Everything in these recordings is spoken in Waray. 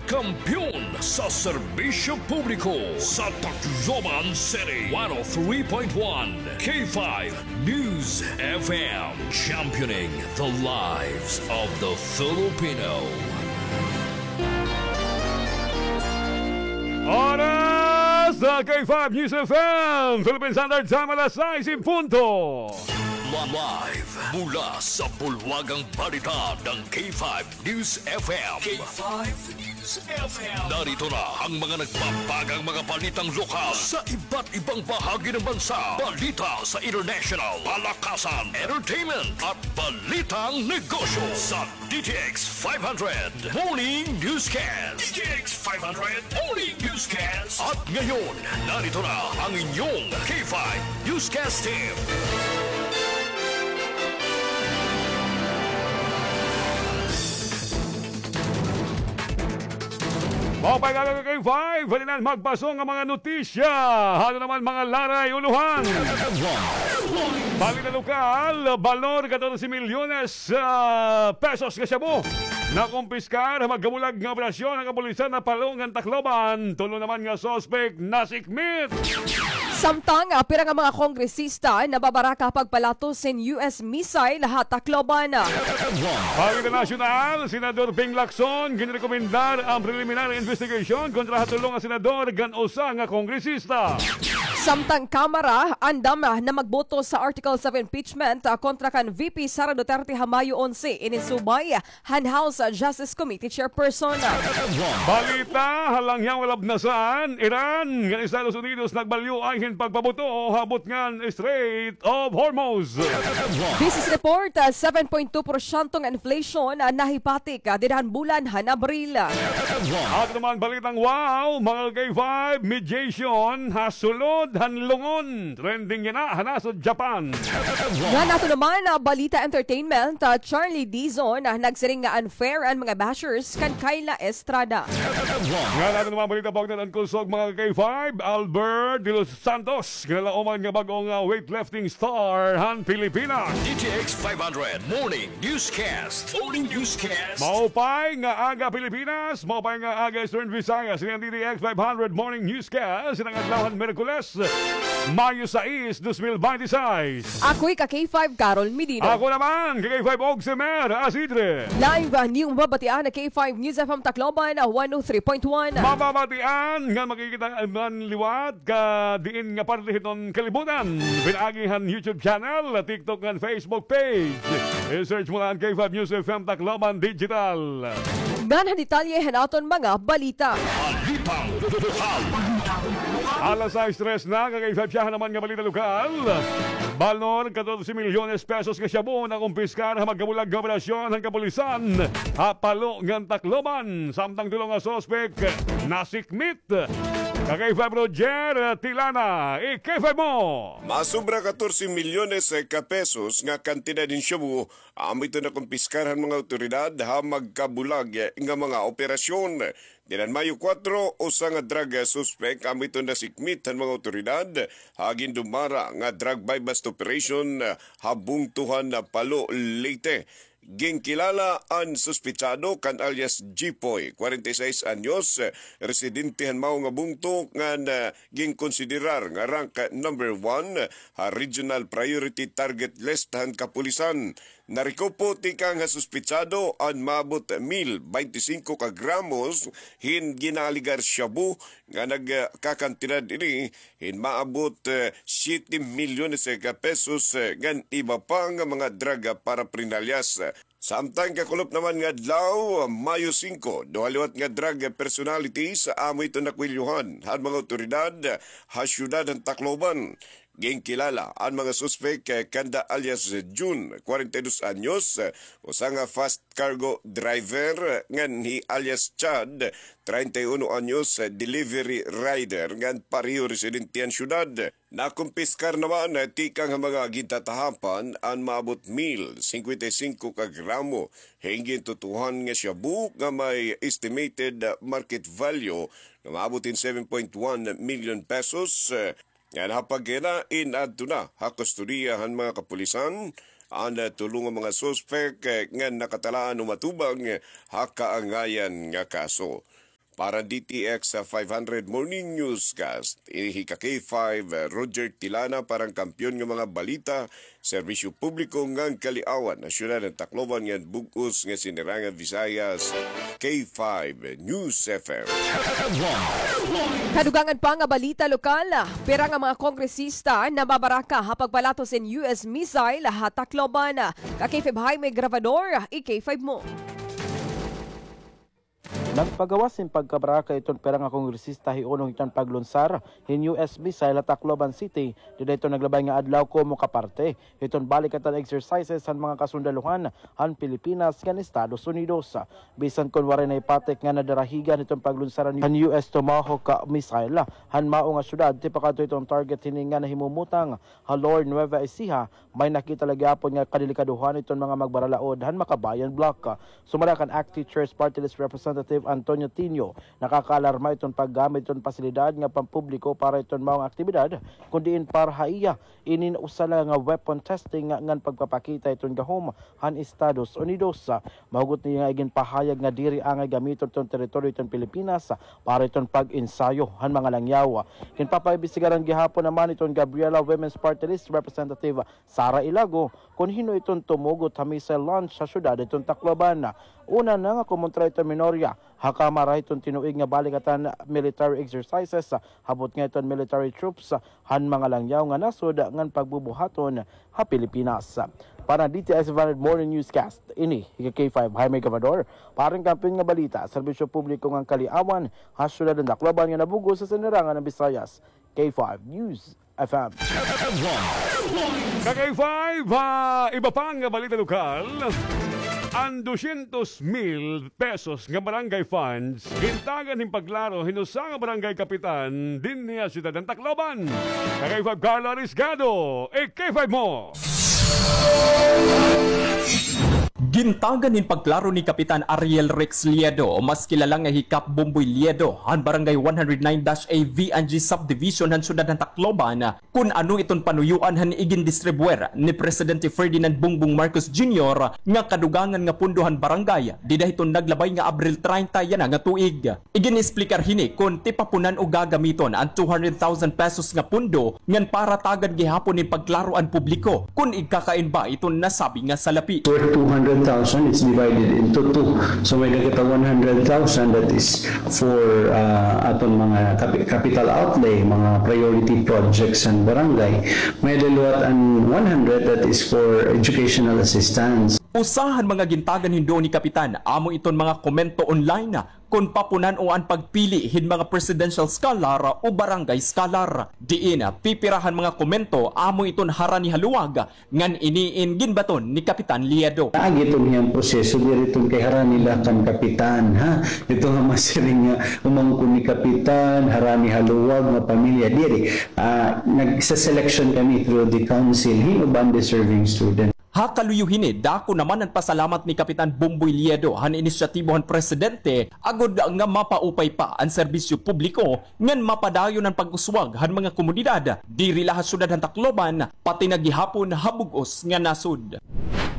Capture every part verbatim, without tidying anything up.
Kampiyon sa serbisyo publiko sa Tacloban City, one oh three point one K five News F M, championing the lives of the Filipino. Oras sa K five News F M, Philippine Standard Time, alas sais en punto. Live mula sa bulwagang balita ng K five News F M. K five News F M. Narito na ang mga nagbabagang mga balitang lokal sa iba't ibang bahagi ng bansa. Balita sa international, palakasan, entertainment, at balitang negosyo sa D T X five hundred Morning Newscast. D T X five hundred Morning Newscast. At ngayon, narito na ang inyong K five Newscast Team. Maupay nga aga, K five, halinan magpaso nga mga notisya. Ano naman mga laray, ulohan. Balita lokal, balor katorse milyones, ah, pesos nga shabu. Nakumpiskar ha magkabulag nga operasyon han kapulisan ha Palo ngan Tacloban. Tulo naman nga suspek nasikmit. Samtang, ah, pira nga mga kongresista nababaraka pagpalatos hin U S missile ha Tacloban. Balita nasyonal, Senador Ping Lacson, ginrekomendar an preliminary investigation kontra ha tulo nga senador ngan usa nga kongresista. Samtang Kamara, andam na magboto sa articles of impeachment, ah, kontra kan V P Sara Duterte ha Mayo onse, ini subay han House Justice Committee Chairperson. Balita, ha langyaw nga labnasan, Iran ngan Estados Unidos nagbalyuay hin pagpabuto ha butngan Strait of Hormuz. Business report, ah, seven point two porsyento nga inflation, ah, nahipatik, ah, dida han bulan han Abril. Ato naman balitang wow, mga K five, mediation ha sulod han Lungon. Trending yana ha nasod Japan. Ngan ato naman, ah, balita entertainment, ah, Charlie Dizon, ah, nagsiring nga unfair an mga bashers kan Kyla Estrada. Ngan ato naman balita, bugnaw an kusog, mga K five, Albert De Los Santos, kinalauman nga bag-o nga weightlifting star han Pilipinas. D T X five hundred Morning Newscast. Morning Newscast. Maupay nga aga, Pilipinas. Maupay nga aga, Eastern Visayas. Ini an D T X five hundred Morning Newscast. Ini an adlaw han Miyerkules, Mayo sais, dos mil bente sais. Ako hi ka K five, Carol Medina. Ako naman, ka K five, Oximer Asidre. Live, ah, niyo mababatian ha K five News F M Tacloban, ah, one oh three point one. Mababatian nga makikita man liwat ka diin nga parte hiton kalibutan. Pinaagi han YouTube channel, TikTok, ngan Facebook page. I-search mo la an K five News F M Tacloban Digital. Ngan ha detalye han aton mga balita. Balitang lokal. Alas sais tres na, ka K five, syahan naman nga balita lokal. Balor katorse milyones pesos nga shabu nakumpiskar ha magkabulag nga operasyon han kapulisan ha Palo ngan Tacloban. Samtang tulo nga suspek nasikmit. Ka K five Roger Tilana, i-K five mo. Masobra katorse milyones ka pesos nga kantidad hin shabu amo iton nakumpiskar han mga awtoridad ha magkabulag nga mga operasyon. Dida han Mayo kuwatro, usa nga drug suspect amo iton nasikmit han mga awtoridad ha gindumara nga drug buy-bust operation ha bungto han Palo, Leyte. Ginkilala an suspetsado kan alias Jipoy, kwarenta y seis anyos, residente han mao nga bungto, ngan, ah, ginkonsiderar nga rank number one ha Regional Priority Target List han kapulisan. Narekupo tikang ha suspetsado an maabot mil baynte singko ka gramos hin ginaalegar shabu nga nagkakantidad ini hin maabot, eh, siyete milyones ka pesos, eh, ngan iba pa nga mga droga paraphernalias. Samtang kakulop naman nga adlaw, Mayo singko, duha liwat nga drug personalities amo iton nakwelyohan han mga awtoridad ha syudad han Tacloban. Ginkilala an mga suspek, eh, kanda alias Jun, kwarenta y dos anyos, eh, usa nga fast cargo driver, eh, ngan hi alias Chad, treinta y uno anyos, eh, delivery rider ngan pareho residente han syudad. Nakumpiskar naman, eh, tikang ha mga gintatahapan an maabot mil singkwenta y singko ka gramo hin gintutuhan nga shabu nga may estimated, eh, market value nga maabot hin seven point one million pesos, eh, ngan ha pagkahinain adto na ha kustodiya han mga kapulisan an, eh, tulo nga mga suspek, eh, nga nakatalaan umatubang, eh, ha kaangayan nga kaso. Para D T X five hundred Morning Newscast, ini hi ka K five, Roger Tilana, para han Kampiyon nga mga Balita, Serbisyo Publiko ngan Kaliawan, ha siyudad han Tacloban ngan bug-os nga Sinirangan Visayas, K five News F M. Kadugangan pa nga balita lokal, pira nga mga kongresista nababaraka ha pagpalatos hin U S missile ha Tacloban. Ka K five Jaime Gravador, i K five mo. Nagpagawas hin pagkabaraka iton pira nga kongresista hiunong hiton paglunsar hin U S missile ha Tacloban City, dida hiton naglabay nga adlaw komo ka parte hiton balikatan exercises han mga kasundaluhan han Pilipinas ngan Estados Unidos. Bisan kon waray nahipatik nga nadarahigan hiton paglunsar han U S Tomahawk missile han mao nga syudad, tipakadto hiton target hini nga nahimumutang ha Lower Nueva Ecija, may nakita la gihapon nga kadelikadohan iton mga magbaralaod han Makabayan Block. Sumala kan ACT-CHAIR's Party List Representative Antonio Tinio, nakakaalarma iton paggamit iton pasilidad nga pampubliko para iton mao nga aktibidad, kun diin para ha iya, inin usa la nga weapon testing ngan pagpapakita iton gahom han Estados Unidos. Mahugot niya nga iginpahayag nga diri angay gamiton iton teritoryo iton Pilipinas para iton pag-ensayo han mga langyaw. Ginpapaimbestigaran gihapon naman iton Gabriela Women's Party List Representative Sara Ilago kon hin-o iton tumugot ha missile launch ha syudad iton Tacloban. Una na nga kumontra iton minorya ha Kamara hiton tinuig nga balikatan military exercises, habot nga iton military troops han mga langyaw nga nasod ngan pagbubuhaton ha Pilipinas. Para D T S five hundred Morning Newscast, ini hi ka K five Jaime Gravador, para han Kampiyon nga Balita, Serbisyo Publiko ngan Kaliawan, ha siyudad han Tacloban nga nabug-os ha Sinirangan han Visayas, K five News F M. Ka K five, ha iba pa nga balita lokal, an dosyentos mil pesos nga barangay funds gintagan hin pagklaro hin usa nga barangay kapitan dinhi ha siyudad han Tacloban. Ka K five Carlo Arisgado, i K five mo. Gintagan hin pagklaro ni Kapitan Ariel Rex Liedo, mas kilala nga hi Kap Bomboy Liedo, han Barangay one hundred nine dash A V N G Subdivision han siyudad han Tacloban, kun ano iton panuyuan han igindistribuir ni Presidente Ferdinand Bongbong Marcos Junior nga kadugangan nga pondo han barangay dida hiton naglabay nga Abril treinta yana nga tuig. Igin-explicar hini kon tipapunan o gagamiton an two hundred thousand pesos nga pondo ngan para tagan gihapon hin pagklaro an publiko kon igkakain ba iton nasabi nga salapi. Worth two hundred thousand, it's divided into two. So may-ada kita one hundred thousand that is for, ah, aton mga kapi-, capital outlay, mga priority projects han barangay. May-ada liwat an one hundred that is for educational assistance. Usa han mga gintagan hin duo ni Kapitan, amo iton mga komento online kon papunan-o an pagpili hin mga presidential scholar o barangay scholar. Diin pipira han mga komento amo iton harani ha luwag ngan ini in ginbaton ni Kapitan Liedo. Agi iton hiyang proseso, diri iton kay harani la kan kapitan, ha? Ito nga masiring nga umangkon ni kapitan, harani ha luwag nga pamilya, diri. Ah, nagse-selection kami through the council hin uban deserving student. Ha kaluyo hini, dako naman an pasalamat ni Kapitan Bomboy Liedo han inisyatibo han presidente agod nga mapaupay pa an serbisyo publiko ngan mapadayon an pag-uswag han mga komunidad diri la ha siyudad han Tacloban, pati na gihapon ha bug-os nga nasod.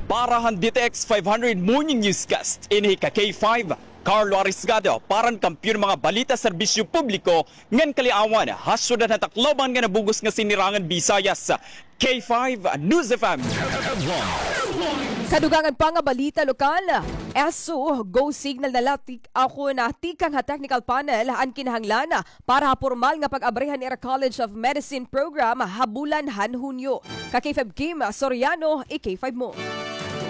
Para han D T X five hundred Morning Newscast, ini hi ka K five, Carlo Arisgado, para han Kampiyon Mga Balita, Serbisyo Publiko ngan Kaliawan, ha siyudad han Tacloban nga nabug-os nga Sinirangan Visayas, K five News F M. Kadugangan pa nga balita lokal, S O, go signal na la tik-, ako na tikang ha technical panel an kinahanglan para ha pormal nga pag-abri han ira College of Medicine program ha bulan han Hunyo. Ka K five Kim Soriano, i K five mo.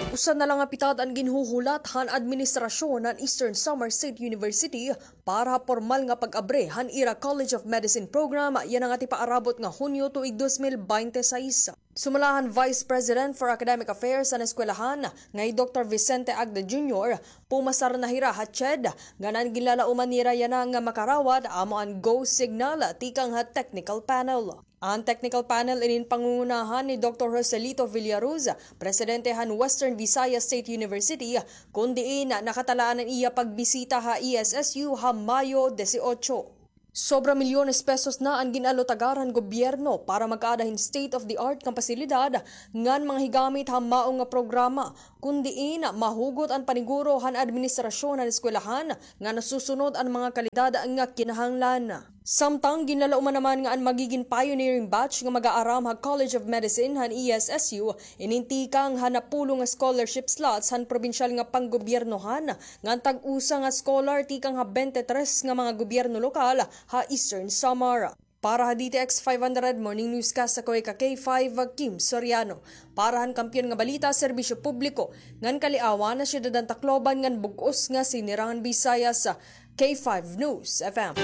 Usa na la nga pitad an ginhuhulat han administrasyon han Eastern Samar State University para ha pormal nga pag-abri han ira College of Medicine program yana nga tipaarabot nga Hunyo tuig dos mil baynte sais. Sumala han Vice President for Academic Affairs han eskwelahan nga hi Doktor Vicente Agda Junior, pumasar na hira ha CHED, ngan an ginlalauman nira yana nga makarawat amo an go signal tikang ha technical panel. An technical panel inin pangungunahan ni Doktor Joselito Villaruz, presidente han Western Visayas State University, kun diin nakatalaan an iya pagbisita ha E S S U ha Mayo dieciocho. Sobra milyones pesos na an gin-allotagar han gobyerno para magkaada hin state-of-the-art nga pasilidad ngan mga higamit ha mao nga programa, kun diin mahugot an paniguro han administrasyon han eskwelahan nga nasusunod an mga kalidad nga kinahanglan. Samtang ginlalaoman naman nga an magigin pioneering batch nga mag-aaram ha College of Medicine han E S S U, inintikang han napulo nga scholarship slots han probinsyal nga panggobyernohan, ngan tag-usa nga scholar tikang ha twenty-three nga mga gobyerno lokal ha Eastern Samar. Para ha D T X five hundred Morning Newscast, ako hi ka K five, Kim Soriano. Para han Kampiyon nga Balita, Serbisyo Publiko, ngan Kaliawan, ha Syudad han Tacloban, ngan bug-os nga Sinirangan Visayas, K five News F M.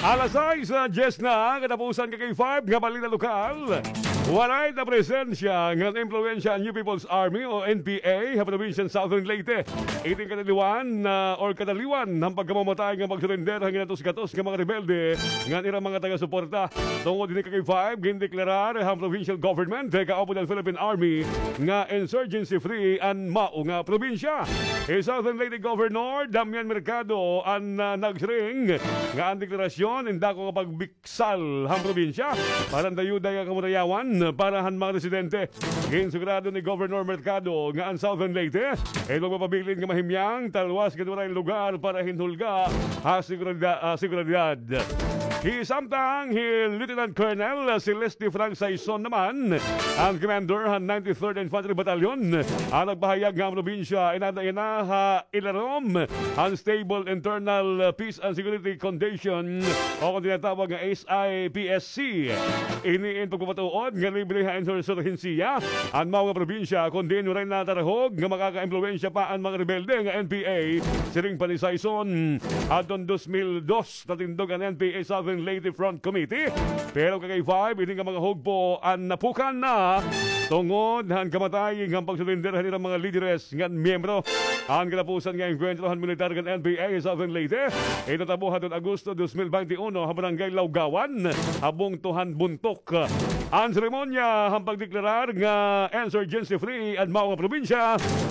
Alas sais, ah, diyes na, katapusan ka K five nga balita lokal. Waray na presensya ngan impluwensya an New People's Army o N P A ha probinsya han Southern Leyte. Iton kadaliwan, ah, or kadaliwan han pagkamamatay ngan pagsurrender han ginatos-gatos nga mga rebelde ngan ira mga taga-suporta. Tungod hini ka K five, gindeklarar han provincial government, eh, kaupod han Philippine Army nga insurgency-free an mao nga probinsya. Hi Southern Leyte Governor Damian Mercado an, ah, nagsiring nga an deklarasyon in dako nga pagbiksal han probinsya para han dayuday nga kamurayawan para han mga residente. Ginsigurado ni Governor Mercado nga an Southern Leyte indi magpapabilin nga mahimyang talwas ngan waray lugar para hin hulga ha segurida-, ah, seguridad. Hi samtang hi Lieutenant Colonel Celeste Frank Saison naman, an commander han ninety-third Infantry Battalion, an nagpahayag nga an probinsya inada yana ha ilarom han stable internal, ah, peace and security condition o kon tinatawag nga S I P S C. Ini in pagpapatuod nga libre ha insurhensiya an mao nga probinsya, kon diin waray natarhog nga makakaimpluwensya pa an mga rebelde nga N P A, siring pa ni Saison. Adton dos mil dos, natindog an N P A Southern Leyte Front Committee. Pero ka K five, ini nga mga hugpo an napukan na tungod han kamatay ngan pagsurrender han ira mga lideres ngan miyembro. An katapusan nga engkwentro han militar ngan N P A Southern Leyte, itatabo hadton Agosto dos mil bente uno ha Barangay Laugawan, ha bungto han Buntok. An seremonya han pagdeklarar nga insurgency-free an mao nga probinsya,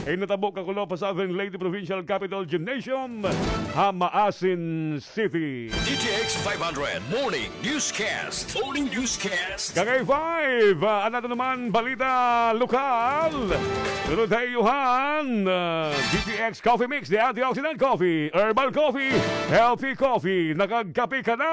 itatabo kakulop ha Southern Leyte Provincial Capitol Gymnasium ha Maasin City. D T X five hundred Morning Newscast. Morning Newscast. Ka K five, ah, an aton naman balita lokal. Sunod ha iyo han, ah, D T X Coffee Mix, the antioxidant coffee, herbal coffee, healthy coffee. Nakagkape ka na,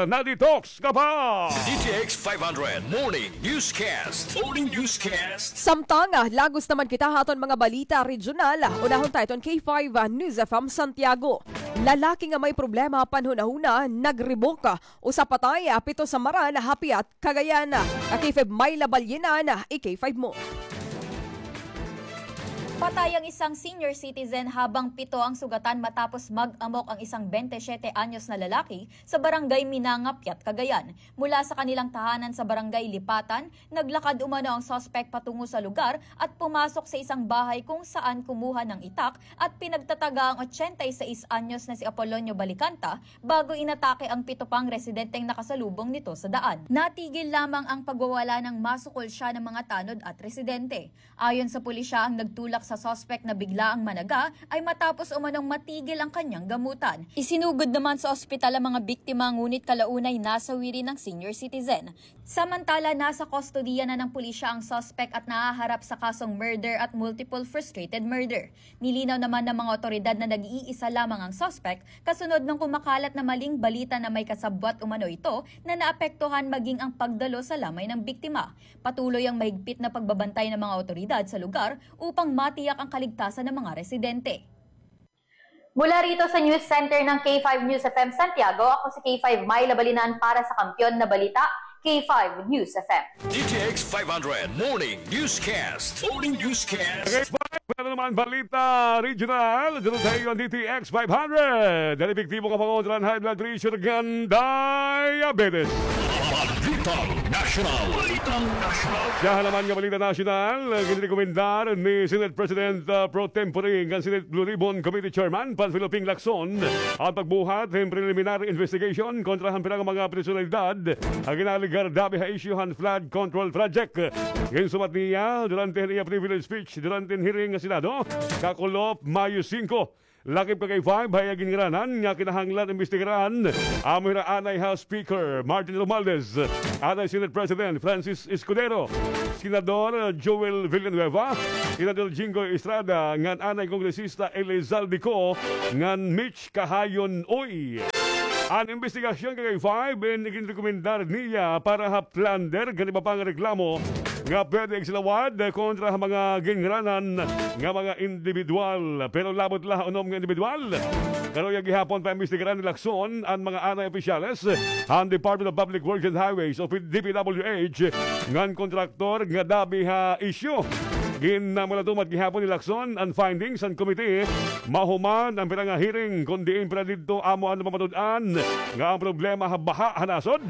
na-detox ka pa. D T X five hundred Morning Newscast. Morning Newscast. Samtang, ah, lagos naman kita ha aton mga balita regional, unahon ta iton K five, ah, News F M Santiago. Lalaki nga may problema panhunahuna, nagrebok. Usa patay, ah, pito samaran, ha Piat, Cagayan. Ka K five Myla Balyenan, i-K five mo. Patay ang isang senior citizen habang pito ang sugatan matapos mag-amok ang isang bente siyete anyos na lalaki sa barangay Minanga, Piat, Cagayan. Mula sa kanilang tahanan sa barangay Lipatan, naglakad umano ang suspek patungo sa lugar at pumasok sa isang bahay kung saan kumuha ng itak at pinagtataga ang otsenta y seis anyos na si Apolonio Balicanta bago inatake ang pito pang residenteng nakasalubong nito sa daan. Natigil lamang ang pagwawala nang masukol siya ng mga tanod at residente. Ayon sa pulisya, ang nagtulak sa suspek na bigla ang managa ay matapos umanong matigil ang kanyang gamutan. Isinugod naman sa ospital ang mga biktima, ngunit kalaunay nasawi rin ang senior citizen. Samantala, nasa kustodiya na ng pulisya ang suspek at nahaharap sa kasong murder at multiple frustrated murder. Nilinaw naman ng mga otoridad na nag-iisa lamang ang suspek kasunod ng kumakalat na maling balita na may kasabwat umano ito na naapektuhan, maging ang pagdalo sa lamay ng biktima. Patuloy ang mahigpit na pagbabantay ng mga otoridad sa lugar upang matiyak ang kaligtasan ng mga residente. Mula rito sa News Center ng K five News F M Santiago, ako si K five Myla Balinan para sa Kampiyon na Balita, K five News F M. D T X five hundred Morning Newscast. Morning Newscast. K five, ano naman balita regional? Dito sa iyo ang D T X five hundred. Dahil epektibo nga pangontra han high blood pressure ngan diabetes. Balitang Nasyonal. Balitang Nasyonal. Siya naman nga balita nasyonal, ginrekomendar ni Senate President, ah, pro tempore ngan Senate Blue Ribbon Committee Chairman Panfilo Ping Lacson an pagbuhat hin preliminary investigation kontra han pira nga mga personalidad nga ginalegar dabi ha isyu han flood control project. Ginsumat niya durante han iya privilege speech durante hin hearing ha Senado kakulop Mayo singko. Lakip ka K five, hay ginngaranan nga kinahanglan imbestigaran. Amo hira anay ha Speaker Martin Romualdez, anay Senate President Francis Escudero, Senador Joel Villanueva, Senador Jinggoy Estrada, ngan anay Kongresista Elizalde Co, ngan Mitch Kahayon Uy. An imbestigasyon ka K five in iginrekomendar niya para ha plunder ngan iba pa nga reklamo nga pwede igsalawad kontra ha mga ginngaranan nga mga individual. Pero labot la ha unom nga individual. Karuya gihapon paimbestigaran ni Lacson an mga anay opisyales han Department of Public Works and Highways o D P W H ngan kontraktor nga dabi ha isyu. Ginamulatumat gihapon ni Lacson an findings han komite mahuman an pira nga hearing, kon diin pira didto amo an napamatud-an nga an problema ha baha ha nasod.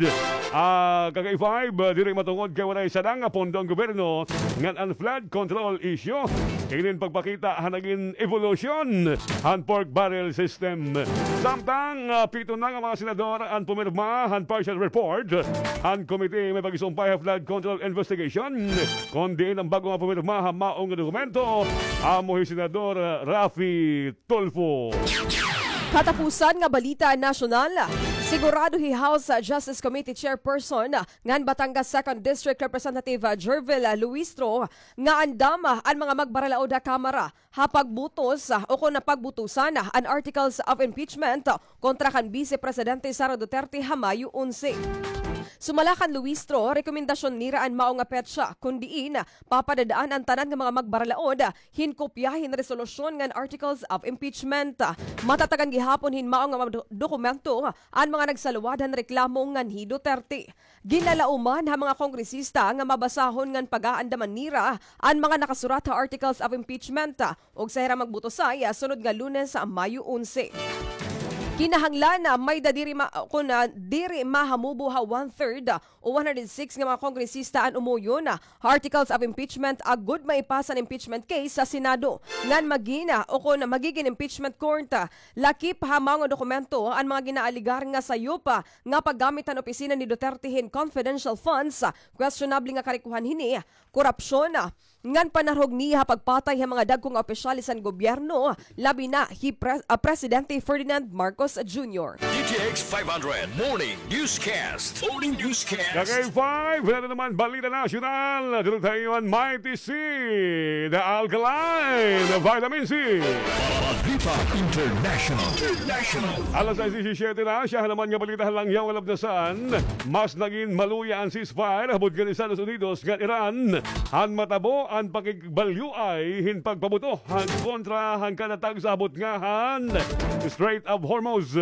Ah, ka K five, diri matungod kay waray sadang nga pondo an gobyerno ngan an flood control issue. Inin pagpakita han nagin evolusyon han pork barrel system. Samtang, ah, pito na nga mga senador an pumirma han partial report han komite may pagsumpay ha flood control investigation, kon diin an bag-o nga pumirma ha maong nga dokumento amo hi Senador, ah, Raffy Tulfo. Katapusan nga balita nasyonal, sigurado hi House Justice Committee Chairperson ngan Batangas Second District Representative Jervil Luistro nga andam an mga magbaralaod ha Kamara ha pagbutos, ah, o kon pagbutusan, ah, an articles of impeachment, ah, kontra kan Vice Presidente Sara Duterte ha Mayo onse. Sumala kan Luistro, rekomendasyon nira an mao nga petsa, kon diin, ah, papadad-an an tanan nga mga magbaralaod, ah, hin kopya hin resolusyon ngan articles of impeachment. Ah, matatagan gihapon hin mao nga mga do-, dokumento, ah, an mga nagsaluwad han reklamo ngan hi Duterte. Ginlalauman ha mga kongresista nga mabasahon ngan pag-aandaman nira an mga nakasurat ha articles of impeachment, ug sa hira magbutusay sunod nga Lunes, Mayo onse. Kinahanglan na may da diri ma-, kun, ah, diri mahamubo ha one-third o one hundred six nga mga kongresista an umuyon ha articles of impeachment agod maipasa an impeachment case sa Senado ngan magina o kun magigin impeachment court. Lakip ha mga dokumento an mga ginaaligar nga sayop nga paggamit han opisina ni Duterte hin confidential funds, questionable nga karikohan hini, korupsyon, ngan panarhog niya ha pagpatay ha mga dagko nga opisyales han gobyerno, labi na hi Pre-, ah, Presidente Ferdinand Marcos Junior. D T X five hundred Morning Newscast. Morning Newscast. Ka K five, wala na naman balita nasyonal. Dito tayo an Mighty C, the alkaline vitamin C. Balita International. International. Alas sais disisiyete na, siya naman nga balita han langyaw nga labnasan. Mas nagin maluya an ceasefire ha butnga han Estados Unidos ngan Iran han matabo an pakigbalyuay hin pagpabuto han kontra han kada tagsa ha butnga han Strait of Hormuz.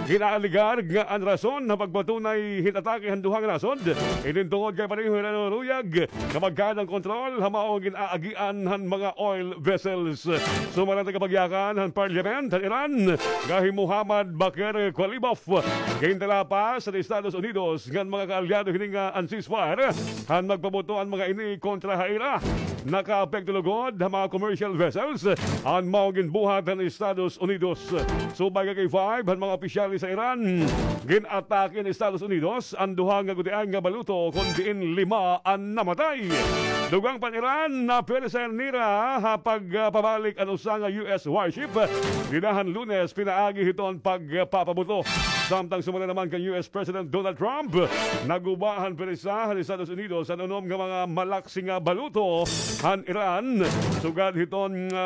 Ginaaligar nga an rason ha pagpatunay hin atake han duha nga nasod, inin tungod kay pareho hira naluyag nga magkaada han kontrol ha mao nga gin-aagian han mga oil vessels. Sumala an tagapagyakan han Parliament han Iran nga hi Muhammad Baqir Qalibov, gintalapas han Estados Unidos ngan mga kaalyado hini nga an ceasefire han magpabuto an mga ini kontra ha ira. Nakaapekto lugod ha mga commercial vessels an mao ginbuhat han Estados Unidos. Subay ka K five han mga opisyales sa Iran, gin-atake han Estados Unidos an duha nga gutiay nga baluto, kon diin lima an namatay. Dugang pa an Iran, napwersa nira ha pagpabalik an usa nga U S warship dida han Lunes pinaagi hiton pagpapabuto. Samtang sumala naman kan U S President Donald Trump, naguba han pwersa han Estados Unidos an unom nga mga malaksi nga baluto han Iran, sugad hiton nga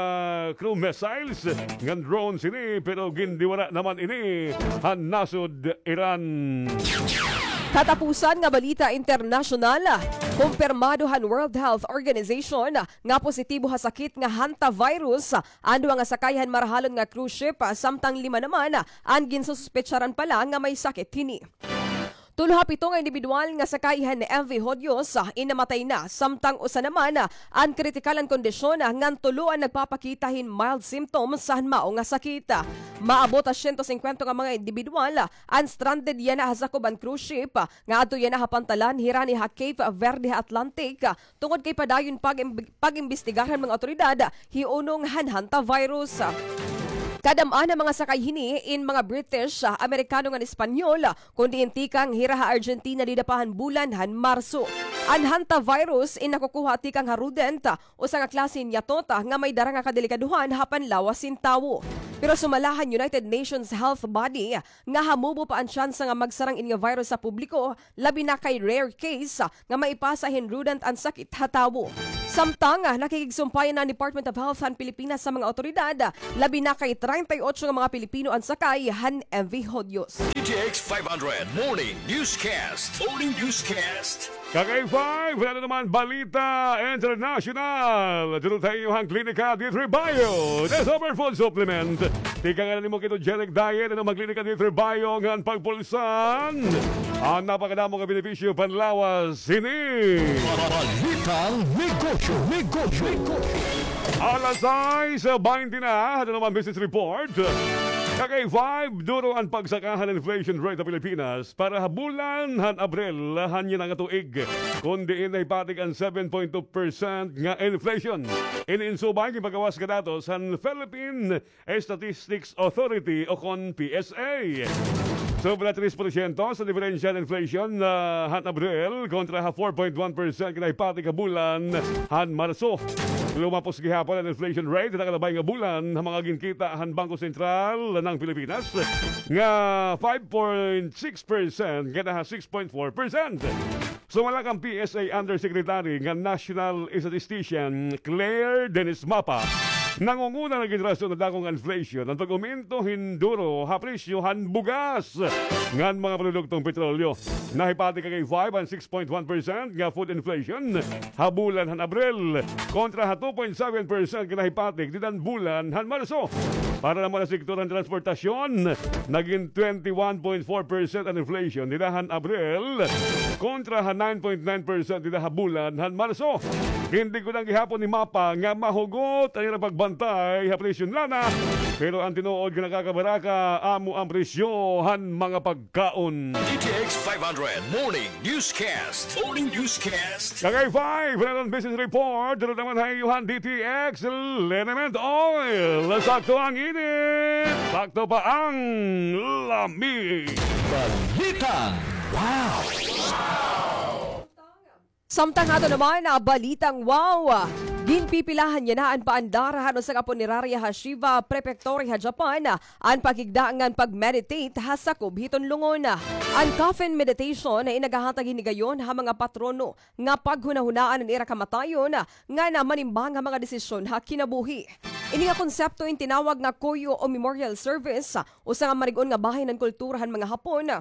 cruise missiles ngan drones ini, pero gindiwara naman ini han nasod Iran. Katapusan nga balita internasyonal, kumpirmado han World Health Organization nga positibo ha sakit nga hantavirus an duha nga sakay han marahalon nga cruise ship, samtang lima naman an ginsususpetsaran pa la nga may sakit hini. Tulo ha pito nga indibidwal nga sakay han M V Hodius in namatay na, samtang usa naman an kritikal an kondisyon ngan tulo an nagpapakita hin mild symptoms han mao nga sakit. Maabot ha siyento singkwenta nga mga indibidwal an stranded yana ha sakob han cruise ship nga adto yana ha pantalan hirani ha Cape Verde ha Atlantic, tungod kay padayon pag-, pag-imbestigar han mga awtoridad hi unong han hantavirus. Kadam-an han mga sakay hini in mga British, ah, Amerikano ngan Espanyol, kun diin tikang hira ha Argentina dida pa han bulan han Marso. An hantavirus in nakukuha tikang ha rodent, usa nga klase hin yatot nga may dara nga kadelikadohan ha panlawas hin tawo. Pero sumala han United Nations Health Body nga hamubo pa an tsansa nga magsarang ini nga virus sa publiko, labi na kay rare case nga maipasa hin rodent an sakit ha tawo. Samtang, ah, nakikigsumpay na an Department of Health han Pilipinas sa mga awtoridad, labi na kay treinta y ocho nga mga Pilipino an sakay han M V Hodios. D T X five hundred Morning Newscast. Morning Newscast. Kakay five, wala na naman balita international. Dito tayo ang Klinika D three Bio, the superfood supplement. Tikang nimo ketogenic diet, ano ang Klinika D three Bio nga an pagpulsan an napakadamo nga benepisyo panlawas hini. Balitang negosyo, negosyo, negosyo. Alas sais baynte na, ato naman business report. Kakay five, duro an pagsaka han inflation rate ha Pilipinas para ha bulan han Abril han yana nga tuig, kun diin nahipatik an seven point two percent nga inflation. Ini in subay ginpagawas nga datos han Philippine Statistics Authority o kon P S A. Sobra tres porsyento sa diferensya han inflation, ah, han Abril kontra ha four point one percent nga nahipatik ha bulan han Marso. Lumapos gihapon an inflation rate ha nakalabay nga bulan ha mga ginkita han Bangko Sentral han Pilipinas nga five point six percent ngan ha six point four percent. Sumala kan P S A Undersecretary nga National Statistician Claire Dennis Mapa, nangunguna nga gin rason han dako nga inflation an pag-umento hin duro ha presyo han bugas ngan mga produktong petrolyo. Nahipatik kakay five an six point one percent nga food inflation ha bulan han Abril, kontra ha two point seven percent nga nahipatik dida han bulan han Marso. Para naman ha sektor han transportasyon, nagin twenty one point four percent an inflation dida han Abril, kontra ha nine point nine percent dida ha bulan han Marso. Gintiggudan gihapon ni Mapa nga mahugot an ira pagbantay ha presyo han lana, pero an tinuod nga nakakabaraka amo an presyo han mga pagkaon. D T X five hundred Morning Newscast. Morning Newscast. Kakay five, wala na business report. Dito naman ha iyo han D T X Liniment Oil. Sakto an init, sakto pa an lami. Balitang wow. Samtang ato naman, ah, balitang wow. Ginpipilahan yana an paandar han usa ka punerarya ha Shiba Prefecture ha Japan, ah, an paghigda ngan pag-meditate ha sakob hiton lungon. An coffin meditation in nagahatag hin higayon ha mga patrono nga paghunahunaan an ira kamatayon ngan manimbang ha mga desisyon ha kinabuhi. Ini nga konsepto in tinawag nga Koyo o Memorial Service, usa nga marig-on nga bahin han kultura han mga Hapon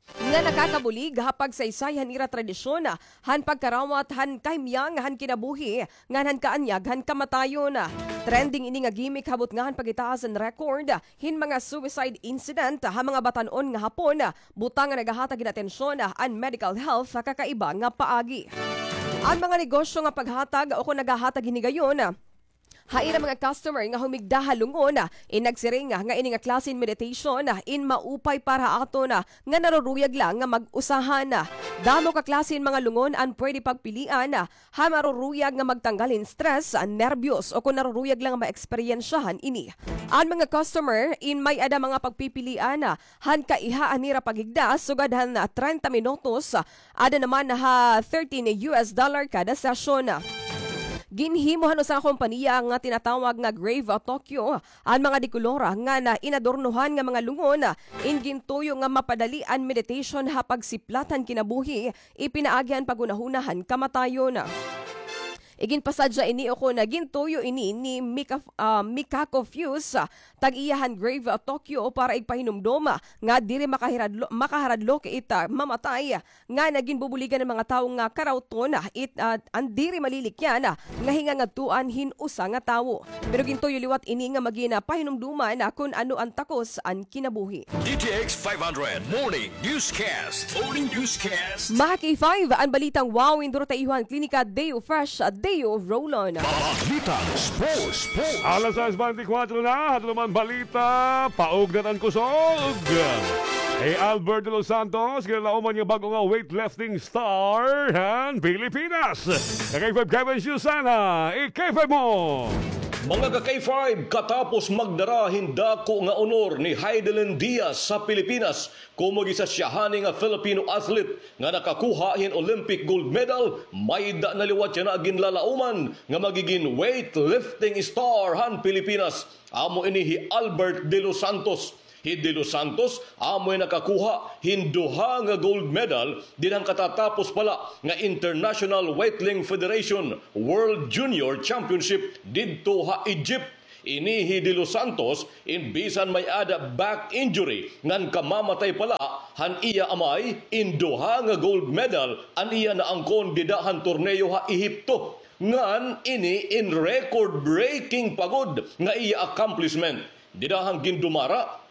nga nakakabulig ha pagsaysay han ira tradisyon, han pagkarawat han kahimyang han kinabuhi ngan han kaanyag han kamatayon. Trending ini nga gimmick ha butnga han pagitaas han record hin mga suicide incident ha mga batan-on nga Hapon, butang nga nagahatag hin atensyon an medical health ha kakaiba nga paagi. An mga negosyo nga paghatag o kon nagahatag hin higayon ha ira mga customer nga humigda ha lungon, in nagsiring nga ini nga klase hin meditation in maupay para ha aton nga naruruyag la nga mag-usahan. Damo ka klase hin mga lungon an pwede pagpilian, ha maruruyag nga magtanggal hin stress, nerbiyos, o kon naruruyag la nga maeksperyensyahan ini. An mga customer in may-ada mga pagpipilian han kaiha han ira paghigda sugad han treinta minutos, ada naman ha thirteen U S dollar kada session. Ginhimo han usa ka kompanya nga tinatawag nga Grave Tokyo an mga dekolor ngan inadornohan nga mga lungon in gintuyo nga mapadali an meditation ha pagsiplat han kinabuhi, ipinaagi han paghunahuna han kamatayon. Iginpasadya ini o kon gintuyo ini ni Mika, ah, Mikako Fuse, tag-iya han Grave Tokyo, para igpahinumdom nga diri makahiradlo-, makaharadlok it, ah, mamatay, ngan ginbubuligan an mga tawo nga karawton it, ah, an diri malilikyan nga hingangadtuan hin usa nga tawo. Pero gintuyo liwat ini nga magin, ah, pahinumduman, ah, kon ano an takos an kinabuhi. D T X five hundred Morning Newscast. Morning Newscast. Mga K five, an balitang wow, in duro ta iyo han Klinika Deo Fresh, Deo Roll-On. Balitang sports, sports. Alas sais baynte kwatro na, ato naman balita, paugnat an kusog. Kay Albert de los Santos, kinalauman nga bag-o nga weightlifting star han Pilipinas. Kay Kevin Susana, i-K five mo. Mga ka-K five, katapos magdara hin dako nga honor ni Heidelin Diaz ha Pilipinas, komo gin-isa siya hani nga Filipino athlete nga nakakuha hin Olympic gold medal, may-ada na liwat yana ginlalauman nga magigin weightlifting star han Pilipinas. Amo ini hi Albert De Los Santos. Hi De Los Santos, amoy nakakuha hin duha nga gold medal dinhan katatapos pa la nga International Weightlifting Federation World Junior Championship didto ha Egypt. Ini hi De Los Santos, in bisan may-ada back injury ngan kamamatay pa la han iya amay, in duha nga gold medal an iya naangkon dida han torneo ha Ehipto. Ngan ini in record-breaking pa gud nga iya accomplishment. Dida han gindumara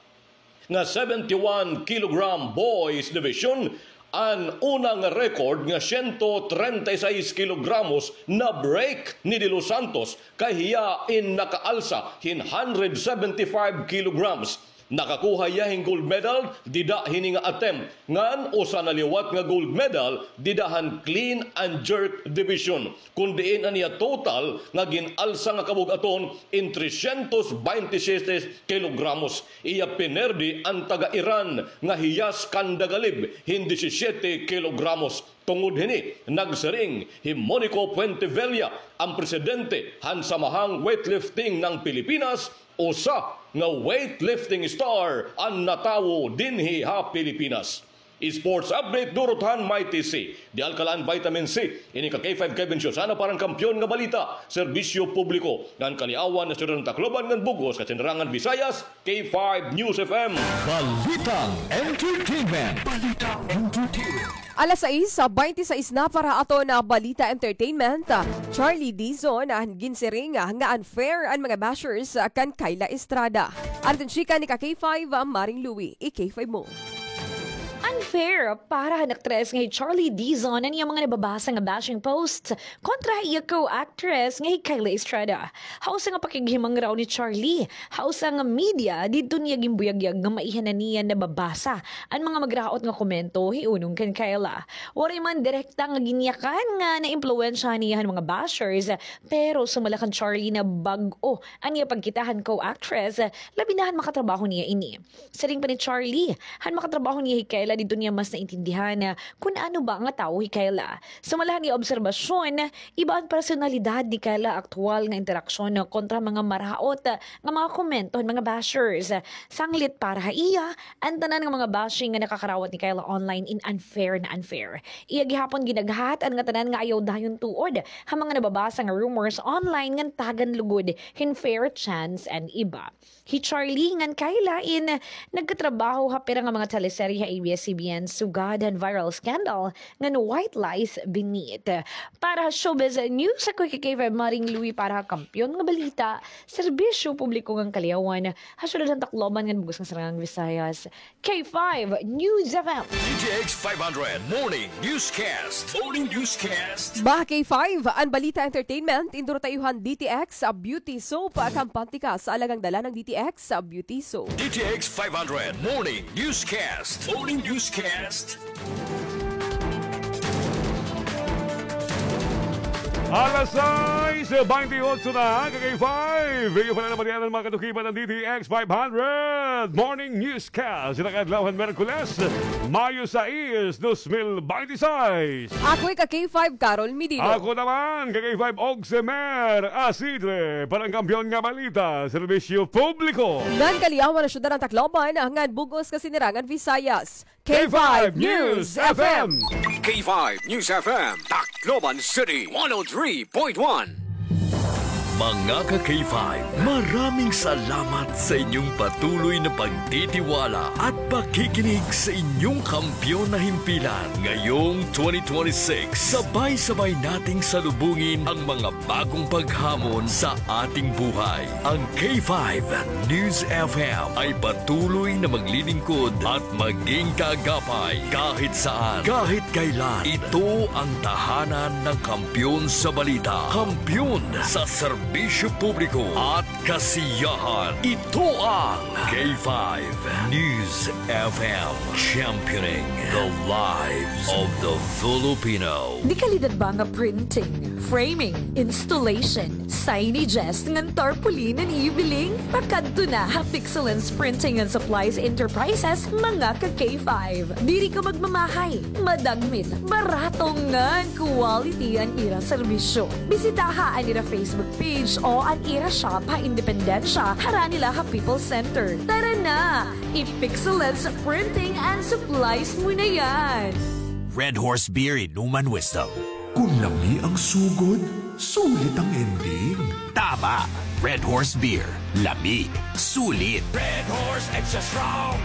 nga seventy-one kilogram boys division, an una nga record nga siyento trenta y seis kilogramos na-break ni De Los Santos, kay hiya in nakaalsa hin hundred seventy-five kilograms. Nakakuha hiya hin gold medal dida hini nga attempt, ngan usa na liwat nga gold medal dida han clean and jerk division, kun diin an iya total nga gin-alsa nga kabug-aton in trescientos veintisiete kilogramos. Iya pinerdi an taga-Iran nga hi Yas Kandagalib hin disisiete kilogramos. Tungod hini, nagsiring hi Monico Puentevilla, an presidente han Samahang Weightlifting ng Pilipinas, usa nga weightlifting star an natawo dinhi ha Pilipinas. Sports update durot han Mighty C, The Alkaline Vitamin C. Ini ka K five Kevin Siosana para han Kampiyon nga Balita, Serbisyo Publiko, ngan Kaliawan ha Siyudad han Tacloban ngan bug-os ha Sinirangan Visayas, K five News F M. Balitang Entertainment. Balitang Entertainment. Alas sais, ah, baynte sais na para aton, ah, Balita Entertainment. Ah, Charlie Dizon, ah, ginsiring, ah, nga unfair an mga bashers, ah, kan Kyla Estrada. Aton chika ni ka K five, ah, Maring Louie, i-K five mo. Unfair para han aktres nga hi Charlie Dizon an iya mga nababasa nga bashing posts kontra ha iya co-actress nga hi Kyla Estrada. Ha usa nga pakighimangraw ni Charlie ha usa nga media, didto niya ginbuyagyag nga maiha na niya nababasa an mga magraot nga komento hiunong kan Kyla. Waray man direkta nga ginyakan nga naimpluwensyahan niya han mga bashers, pero sumala kan Charlie na bag-o an iya pagkita han co-actress, labi na han makatrabaho niya ini. Siring pa ni Charlie, han makatrabaho niya hi Kyla, didto niya mas naintindihan, ah, kun ano ba nga tawo hi Kyla. Sumala han iya obserbasyon, iba an personalidad ni Kyla ha aktuwal nga interaksyon kontra mga maraot, ah, nga mga komento han mga bashers. Sanglit para ha iya, an tanan nga mga bashing nga nakakarawat ni Kyla online in unfair na unfair. Iya gihapon ginaghat an ngatanan nga ayaw dayon tuod ha mga nababasa nga rumors online ngan tagan lugod hin fair chance an iba. Hi Charlie ngan Kyla in nagkatrabaho ha pira nga mga teleserye ha A B S C B N sugad han viral scandal ngan White Lies Beneath. Para ha Showbiz News, ako hi K five Maring Louie para ha Kampiyon nga Balita, Serbisyo Publiko ngan Kaliawan, ha Siyudad han Tacloban ngan bug-os nga Sinirangan Visayas, K five News F M. D T X five hundred Morning Newscast. Morning Newscast. Mga ka K five, an Balita Entertainment, induro ta iyo han D T X, ah, Beauty Soap, ah, kampante ka sa alagang dala ng D T X, ah, Beauty Soap. D T X five hundred Morning Newscast. Morning Newscast. Alas sais baynte otso na, ka K five. Iyo pa la naman yan an mga katukipan ng D T X five hundred Morning Newscast. Sa adlaw han Miyerkules, Mayo sais, dos mil baynte sais. Ako hi ka K five, Carol Medino. Ako naman, ka K five, Oximer Asidre, para han Kampiyon nga Balita, Serbisyo Publiko. Ngan Kaliawan ha Siyudad han Tacloban, ngan bug-os nga Sinirangan Visayas. K five News F M. K five News F M, Tacloban City, one oh three point one. Mga ka K five, maraming salamat sa inyong patuloy na pagtitiwala at pakikinig sa inyong kampiyon na himpilan. Ngayong twenty twenty-six, sabay-sabay nating salubungin ang mga bagong paghamon sa ating buhay. Ang K five News F M ay patuloy na maglilingkod at maging kaagapay kahit saan, kahit kailan. Ito ang tahanan ng kampiyon sa balita, kampiyon sa serbisyo. Serbisyo publiko at kasiyahan. Ito ang K five News F M, championing the lives of the Filipino. Di kalidad ba nga printing, framing, installation, signages, ngan tarpaulin an ibiling? Pakadto na ha Pixelens Printing and Supplies Enterprises, mga ka K five. Diri ka magmamahay, madagmit, barato ngan quality an ira serbisyo. Bisitaha an ira Facebook page o an ira shop ha Independencia, harani la ha People's Center. Tara na! I-Pixelens Printing and Supplies mo na yan! Red Horse Beer, Inuman Wisdom. Kung lami ang sugod, sulit ang ending. Tama! Red Horse Beer. Lami. Sulit. Red Horse Extra Strong.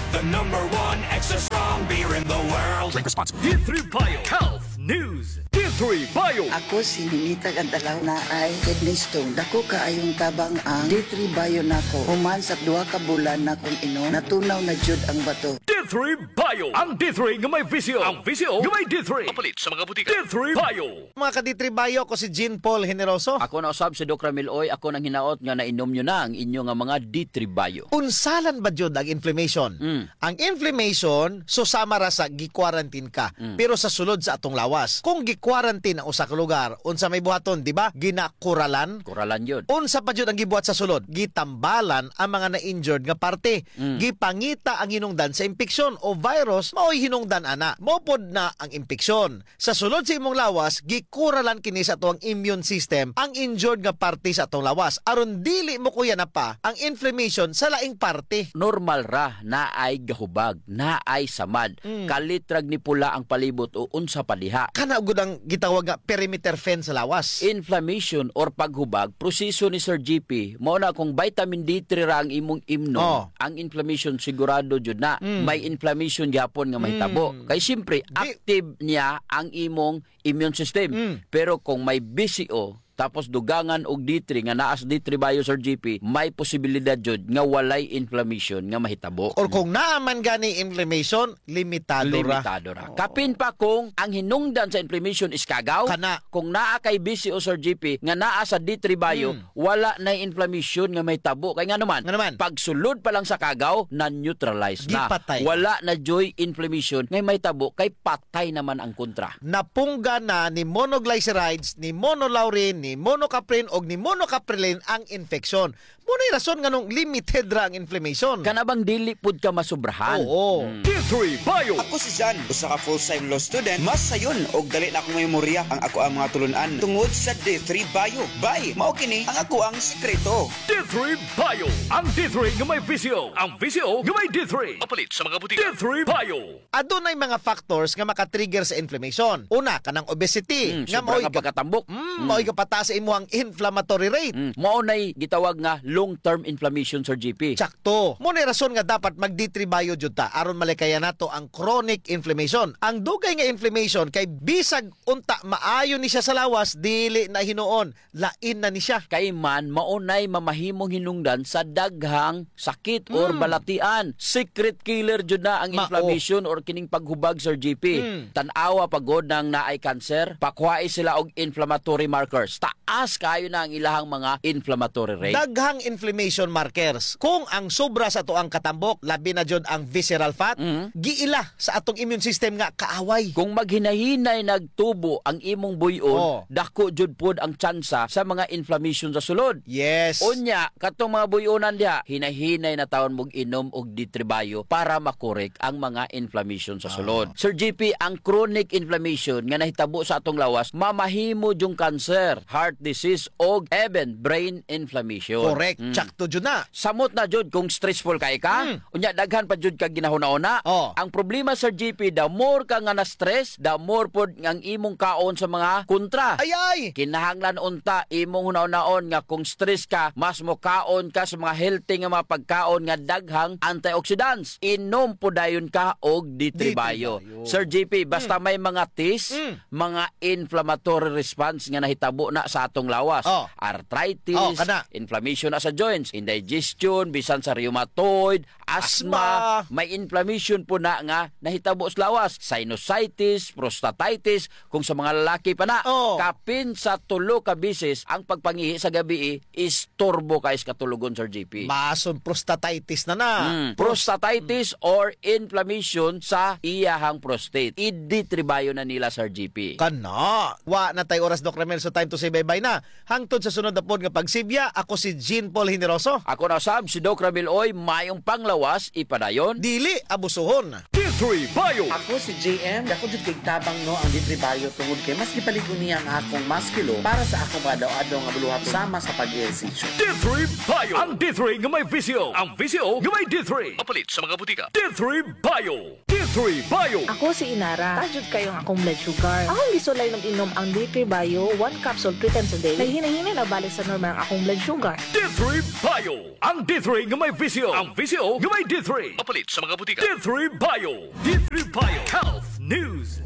The number one extra strong beer in the world. Drink responsibly. D three Bio Health News. D three Bio. Ako si Ninita Gandalaw, naay kidney stone. Dako kaayong tabang ang D three Bio nako. Human sa duha ka bulan nakong inom, natunaw na jud ang bato. D three Bio. Ang D three nga may bisyo. Ang bisyo nga may D three. Mapalit sa mga butika. D three Bio. Mga ka-D three Bio, ako si Jean Paul Generoso. Ako na usab si Doc Ramil Oy. Ako nang hinaot nga nainom nyo na ang inyo nga mga D three Bio. Unsalan ba jud ang inflammation? Mm. Ang inflammation, susama ra sa gi-quarantine ka, mm, pero sa sulod sa atong lawas. Kung gi-quarantine ang usa ka lugar, unsa may buhaton, di ba? Ginakuralan. Kuralan jud. Unsa pa jud ang gibuhat sa sulod? Gitambalan ang mga na-injured nga parte. Mm. Gipangita ang hinungdan sa impeksyon o virus, maoy hinungdan ana. Mao pod na ang impeksyon. Sa sulod sa imong lawas, gikuralan kini sa atoang immune system, ang injured nga parte sa atong lawas, aron dili mokuyanapa ang inflammation sa laing parte. Normal ra, naay gahubag, naay samad, mm, kalit rag nipula ang palibot o unsa pa diha. Kana gud ang gitawag nga perimeter fence sa lawas. Inflammation or paghubag, proseso ni Sir G P, mao na kung vitamin D three ra ang imong imnon, oh, ang inflammation sigurado jud na. Mm. May inflammation gihapon nga mahitabo. Mm. Kay siyempre, di- active niya ang imong immune system. Mm. Pero kung may B C O, tapos dugangan og D three nga naa sa D three Bio, Sir G P, may posibilidad jud nga walay inflammation nga mahitabo. Or kung naa man gani inflammation, limitado ra. Limitado ra. Oo. Kapin pa kung ang hinungdan sa inflammation is kagaw, kana. Kung naa kay B C O, Sir G P, nga naa sa D three Bio, mm, wala na inflammation nga mahitabo. Kay ngano man? Ngano man? Pagsulod pa lang sa kagaw, na-neutralize na. Gipatay. Wala na joy inflammation nga mahitabo kay patay naman ang kontra. Napungga na ni monoglycerides, ni monolaurin, ni monocaprin, og ni monocaprilin ang infection. Mao nay rason nganong limited ra ang inflammation. Kana bang dili pud ka masubrahan? Oo. Hmm. D three Bio. Ako si Jan, usa ka full-time law student. Mas sayon og dali na akong memorya ang akoang mga tulun-an tungod sa D three Bio. Bay, mao kini ang akoang sikreto. D three Bio. Ang D three nga may visyo. Ang visyo nga may D three. Mapalit sa mga butika. D three Bio. Adunay mga factors nga maka-trigger sa inflammation. Una, kanang obesity. Mm, nga sobra mao'y nga ga-, pagkatambok. Mm, mm, mao'y gapataas sa imuhang inflammatory rate. Mm, mao nay gitawag nga long-term inflammation, Sir G P. Tsakto. Mao nay rason nga dapat mag-D three Bio jud ta aron malikayan nato ang chronic inflammation. Ang dugay nga inflammation kay bisag unta maayo ni siya sa lawas, dili na hinuon. Lain na ni siya. Kay man, mao nay mamahimong hinungdan sa daghang sakit or, mm, balatian. Secret killer jud na ang, mao, inflammation or kining paghubag, Sir G P. Mm. Tan-awa pa gud nang naay cancer, pakuhai sila og inflammatory markers. Taas kaayo na ang ilahang mga inflammatory rate. Daghang inflammation markers. Kung ang sobra sa atoang katambok, labi na jud ang visceral fat, mm, giila sa atong immune system nga kaaway. Kung maghinahinay nagtubo ang imong buy-on, oh, dako jud pod ang tsansa sa mga inflammation sa sulod. Yes. Unya, katong mga buy-onan diha, hinahinay na tawon mog inom og D three Bio para makorek ang mga inflammation sa, ah, sulod. Sir G P, ang chronic inflammation nga nahitabo sa atong lawas, mamahimo jung cancer, heart disease, og even brain inflammation. Correct. Mm. Tsakto jud na. Samot na jud kung stressful kay ka. Mm. Unya, daghan pa jud ka ginahuna-una. Oh. Ang problema, Sir G P, the more ka nga na-stress, the more pod ang imong kaon sa mga kontra. Ay, ay! Kinahanglan unta imong hunahunaon nga kung stress ka, mas mokaon ka sa mga healthy nga mga pagkaon nga daghang antioxidants. Inom pod dayon ka og D three Bio. D three Bio. Sir G P, basta, hmm, may mga test, hmm, mga inflammatory response nga nahitabo na sa atong lawas. Oh. Arthritis, oh, kana, inflammation na sa joints, indigestion, bisan sa rheumatoid, asthma, asthma, may inflammation po na nga nahitabo sa lawas, sinusitis, prostatitis, kung sa mga lalaki pa na, oh, kapin sa tulo ka bisis ang pagpangihi sa gabii, istorbo kay sa katulogon, Sir J P. Mason prostatitis na na. Hmm, prostatitis or inflammation sa iyahang prostate. I-D three Bio na nila, Sir J P. Kana. Wa na tay oras, Doc Ramil, so time to say bye-bye na. Hangtod sa sunod na pod nga pagsibya, ako si Jean Paul Generoso. Ako na sab si Doc Ramil Oy, mayong panglawas, ipadayon. Dili abusuhon. D three Bio. Ako si J M. Dako jud kay tabang, no, ang D three Bio tungod kay mas gipalig-on niya ang akong maskilo para sa akong pangadaw-adlaw nga buluhaton sama sa pag-ehersisyo. D three Bio. Ang D three nga may visyo. Ang visyo nga may D three. Mapalit sa mga butika. D three Bio. D three Bio. Ako si Inara. Taas jud kayo ang akong blood sugar. Akong gisulay nag-inom ang D three Bio, one capsule three times a day. Naghinay-hinay na balik sa normal ang akong blood sugar. D three Bio. Ang D three nga may visyo. Ang visyo nga may D three. Mapalit sa mga butika. D three Bio. D three Bio. Health News.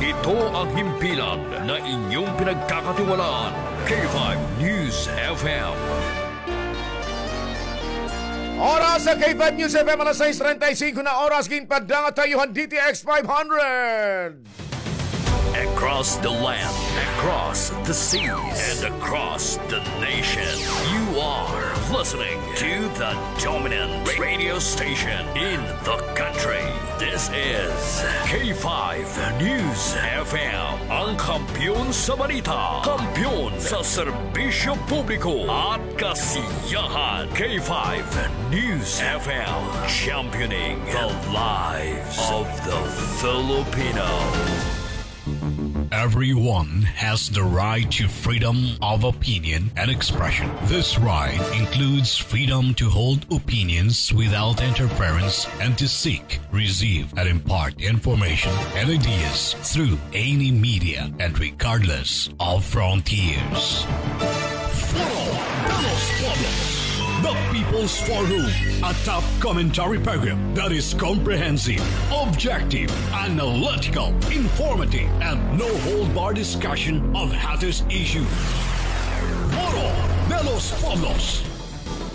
Ito ang himpilan na inyong pinagkakatiwalaan. K five News F M. Oras sa K five News F M, alas sais treinta y cinco na oras, ginpadangat tayo han D T X five hundred. Across the land, across the seas, and across the nation, you are listening to the dominant radio station in the country. This is K five News F M, ang kampiyon sa balita, kampiyon sa serbisyo publiko at kasiyahan. K five News F M, championing the lives of the Filipino. Everyone has the right to freedom of opinion and expression. This right includes freedom to hold opinions without interference and to seek, receive, and impart information and ideas through any media and regardless of frontiers. Foro de los Pueblos, the People's Forum, a top commentary program that is comprehensive, objective, analytical, informative, and no-hold-bar discussion of hottest issues. Foro de los Pueblos.